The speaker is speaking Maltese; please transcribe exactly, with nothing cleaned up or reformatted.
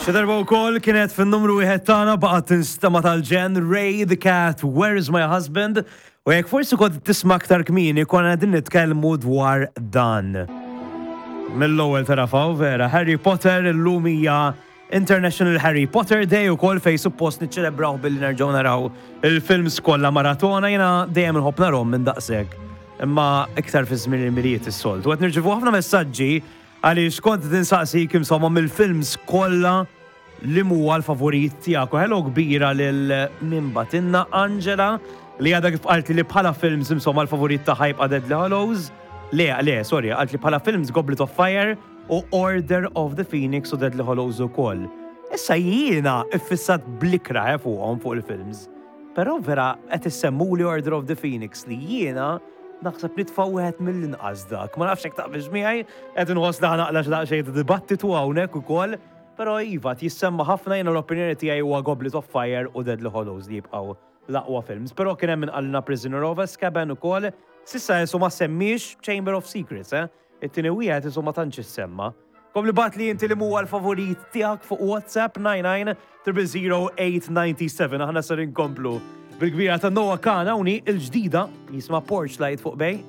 Xi darba wkoll kienet fin-numru wieħed tagħna, baqgħet tinstema' tal-ġenn, Ray the Cat, "Where Is My Husband?" U jekk forsi kont tisma' aktar kmieni, konna qegħdin nitkellmu dwar dan. Mill-ewwel tarafaw vera, Harry Potter. Illum hija International Harry Potter Day ukoll, fejn suppost niċċelebraw billi nerġgħu naraw il-films kollha maratona. Jiena dejjem inħobb narahom minn daqshekk. Imma iktar fi żmien il-Milied is-soltu. Qed nirċievu ħafna messaġġi għaliex kont insaqsik, insomma, mill-films kollha li huwa l-favorit tiegħek. U hello kbira lil min bagħtilna, Angela, li għadha kif qaltli li bħala films, insomma, l-favorit tagħha jibqa' Deadly Hallows. Le, le, sorry, qaltli bħala films Goblet of Fire u Order of the Phoenix u Deadly Hallows ukoll. Issa jiena iffissat bl-ikrah eh, fuqhom, fuq il-films. Però vera qed issemmuli Order of the Phoenix, li jiena naħseb nitfa' wieħed mill-inqas dak. Ma nafx hekk taqbilx miegħi, qed inħoss li naqla' daqsxejn ta' dibattitu hawnhekk ukoll. Però iva, jissemma ħafna. Jiena l-opinjoni tiegħi huwa Goblet of Fire u Deadly Hallows li jibqgħu l-aqwa films. Però kien hemm min qalilna Prisoner of Azkaban ukoll. S'issa jesu ma semmix Chamber of Secrets, eh? It-tieni wieħed isu ma tantx issemma. Kompli ibgħatli inti li huwa l-favorit tiegħek fuq WhatsApp nine nine zero zero eight nine seven. Aħna ser inkomplu bil-kbira ta' Noah Kahan hawnhi, il-ġdida jisma' "Porch Light" fuq Bay.